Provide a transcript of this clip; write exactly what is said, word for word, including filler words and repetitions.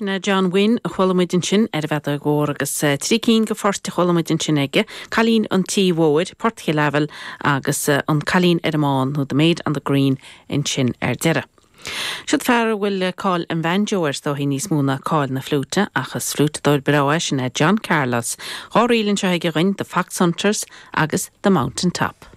Sin é John Wynne a chuala muid ansin ar an bhfeadóg mhór agus eh, trí cinn de phoirt a chuala muid ansin aige, Cailín an Tí Mhóir, Port Chill Aibhil agus eh, an Cailín ar an mBán nó The Maid on the Green ansin ar deireadh. Siod fear a bhfuil cáil an bhanjo air is dóichí níos mó ná cáil na fliúite ach is fliúiteadóir breá é sin é John Carlos, Dhá ríl anseo aige againn The Fox Hunters agus The Mountain Top.